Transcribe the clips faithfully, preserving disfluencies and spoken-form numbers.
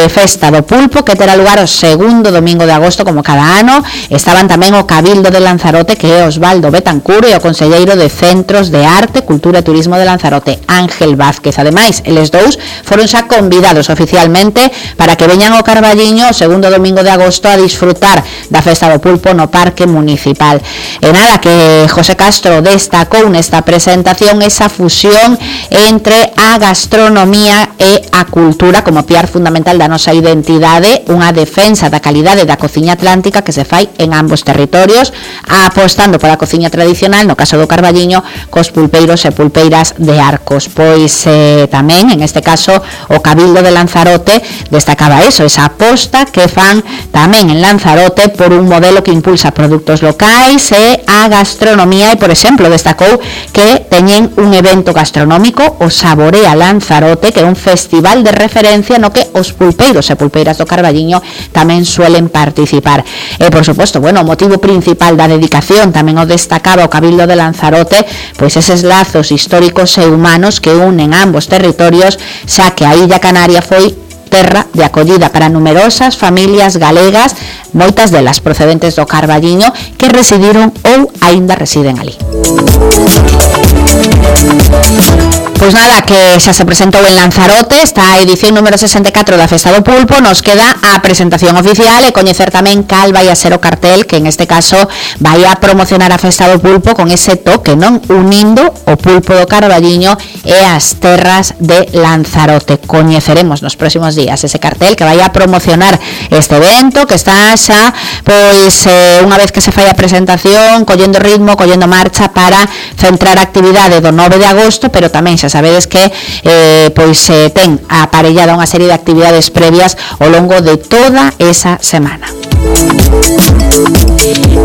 Festa do Pulpo, que terá lugar o segundo domingo de agosto como cada ano. Estaban tamén o Cabildo de Lanzarote, que é Osvaldo Betancur, e o conselleiro de Centros de Arte, Cultura e Turismo de Lanzarote, Ángel Vázquez. Ademais, eles dous foron xa convidados oficialmente para que veñan ao Carballiño o segundo domingo de agosto a disfrutar da Festa do Pulpo no Parque Municipal. E nada, que José Castro destacou nesta presentación esa fusión entre a gastronomía e a cultura como piar fundamental da nosa identidade, unha defensa da calidade da cociña atlántica que se fai en ambos territorios, apostando pola cociña tradicional, no caso do Carballiño, cos pulpeiros e pulpeiras de Arcos. Pois eh, tamén, en este caso, o Cabildo de Lanzarote destacaba eso, esa aposta que fan tamén en Lanzarote por un modelo que impulsa produtos locais e a gastronomía, e, por exemplo, destacou que teñen un evento gastronómico, o Saborea Lanzarote, que é un festival de referencia no que os pulpeiros e pulpeiras do Carballiño tamén suelen participar. E, por suposto, bueno, o motivo principal da dedicación tamén o destacaba o Cabildo de Lanzarote, pois eses lazos históricos e humanos que unen ambos territorios, xa que a Illa Canaria foi terra de acollida para numerosas familias galegas, moitas delas procedentes do Carballiño, que residiron ou aínda residen ali. Pois nada, que xa se presentou en Lanzarote esta edición número sesenta e catro da Festa do Pulpo. Nos queda a presentación oficial e coñecer tamén cal vai a ser o cartel que en este caso vai a promocionar a Festa do Pulpo con ese toque, non? Unindo o pulpo do Carballiño e as terras de Lanzarote. Coñeceremos nos próximos días ese cartel que vai a promocionar este evento, que está xa, pois, eh, unha vez que se fai a presentación, collendo ritmo, collendo marcha para centrar a actividade do nove de agosto, pero tamén xa sabedes que eh, pois eh, ten aparellada unha serie de actividades previas ao longo de toda esa semana.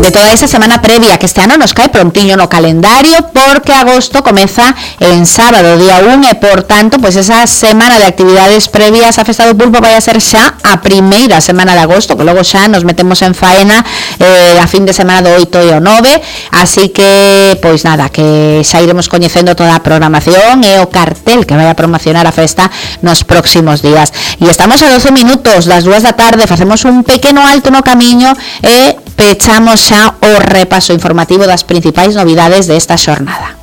De toda esa semana previa, que este ano nos cae prontiño no calendario, porque agosto comeza en sábado, día un, e por tanto, pois esa semana de actividades previas a Festa do Pulpo vai a ser xa a primeira semana de agosto, que logo xa nos metemos en faena eh, a fin de semana do oito e o nove, así que, pois nada, que xa iremos coñecendo toda a programación e o cartel que vai a promocionar a festa nos próximos días. E estamos a doce minutos das dúas da tarde, facemos un pequeno alto no camiño e pechamos xa o repaso informativo das principais novidades desta xornada.